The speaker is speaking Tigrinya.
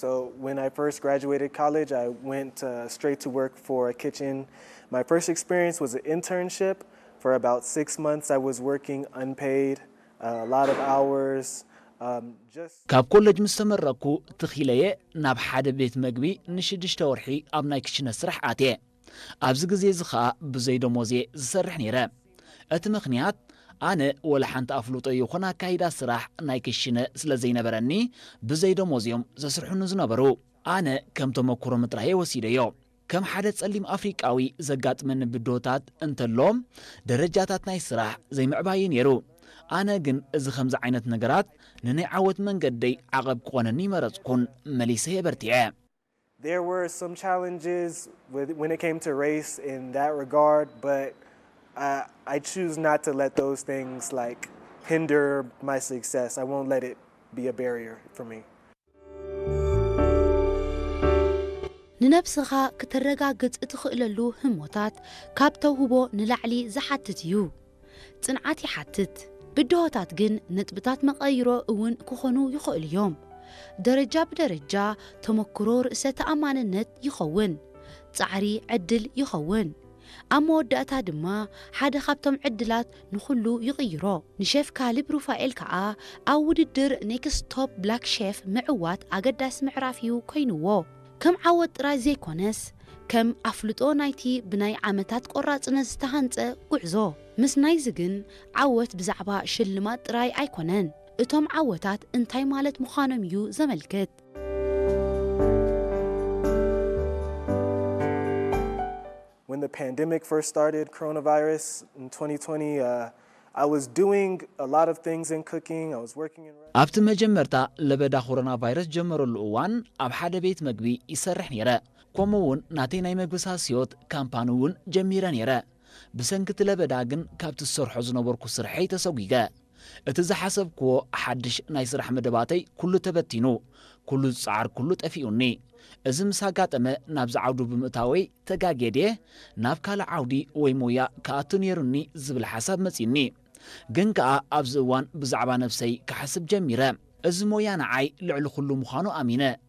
So when I first graduated college, I went uh, straight to work for a kitchen. My first experience was an internship. For about six months, I was working unpaid, uh, a lot of hours. Um, just ካብ ኮለጅ ምስ ተመረኩ ትኺለየ ናብ ሓደ ቤት መግቢ ንሽዱሽተ ወርሒ ኣብ ናይ ክሽነ ስራሕ ኣትየ። ኣብዚ ግዜ እዚ ኸኣ ብዘይ ደሞዝ እየ ዝሰርሕ ነይረ። እቲ ምኽንያት ኣነ ወላ ሓንቲ ኣፍልጦ ይኹን ኣካይዳ ስራሕ ናይ ክሽነ ስለ ዘይነበረኒ ብዘይ ደሞዝ እዮም ዘስርሑኒ ዝነበሩ። ኣነ ከም ተመክሮ ምጥራየ ወሲደዮ። ከም ሓደ ጸሊም ኣፍሪቃዊ ዘጋጥመኒ ብድሆታት እንተሎ ደረጃታት ናይ ስራሕ ዘይምዕባይ እዩ ነይሩ። ኣነ ግን እዚ ከምዚ ዓይነት ነገራት ንናይ ዓወት መንገደይ ዓቐብ ክኾነኒ ይመረጽኩን መሊሰ የበርቲዐ። There were some challenges with, when it came to race in that regard, but uh, I choose not to let those things like hinder my success. I won't let it be a barrier for me. ንነብስኻ ክተረጋግጽ እትኽእለሉ ህሞታት ካብ ተውህቦ ንላዕሊ ዝሓትት እዩ። ጽንዓት ይሓትት። ብድሆታት ግን ነጥብታት መቐይሮ እውን ክኾኑ ይኽእሉ እዮም። ደረጃ ብደረጃ ተመክሮ ርእሰ ተኣማንነት ይኸውን። ጻዕሪ ዕድል ይኸውን። ኣብ መወዳእታ ድማ ሓደ ካብቶም ዕድላት ንኹሉ ይቕይሮ። ንሸፍ ካሊብ ሩፋኤል ከኣ ኣብ ውድድር ኔክስት ቶፕ ብላክ ሸፍ ምዕዋት ኣገዳሲ ምዕራፍ እዩ ኮይንዎ። ከም ዓወት ጥራይ ዘይኮነስ ከም ኣፍልጦ ናይቲ ብናይ ዓመታት ቆራጽነት ዝተሃንጸ ጉዕዞ። ምስ ናይዚ ግን ዓወት ብዛዕባ ሽልማት ጥራይ ኣይኮነን። እቶም ዓወታት እንታይ ማለት ምዃኖም እዩ ዘመልክት። When the pandemic first started, coronavirus in twenty twenty, uh, I was doing a lot of things in cooking. I was working in ኣብቲ መጀመርታ ለበዳ ኮሮና ቫይረስ ጀመረሉ እዋን ኣብ ሓደ ቤት መግቢ ይሰርሕ ነይረ። ከምኡ እውን ናተይ ናይ መግቢ ሳስዮት ካምፓኒ እውን ጀሚረ ነይረ። ብሰንኪ እቲ ለበዳ ግን ካብቲ ዝሰርሖ ዝነበርኩ ስርሐይ ተሰጒገ። እቲ ዝሓሰብክዎ ሓድሽ ናይ ስራሕ መደባተይ ኩሉ ተበቲኑ፣ ኩሉ ዝጸዓርኩሉ ጠፊኡኒ። እዚ ምስ ኣጋጠመ ናብዚ ዓውዱ ብምእታወይ ተጋግየ ድየ ናብ ካልእ ዓውዲ ወይ ሞያ ክኣቱ ነይሩኒ ዝብል ሓሳብ መጺኡኒ። ግን ከኣ ኣብዚ እዋን ብዛዕባ ነብሰይ ክሓስብ ጀሚረ። እዚ ሞያ ንዓይ ልዕሊ ኩሉ ምዃኑ ኣሚነ።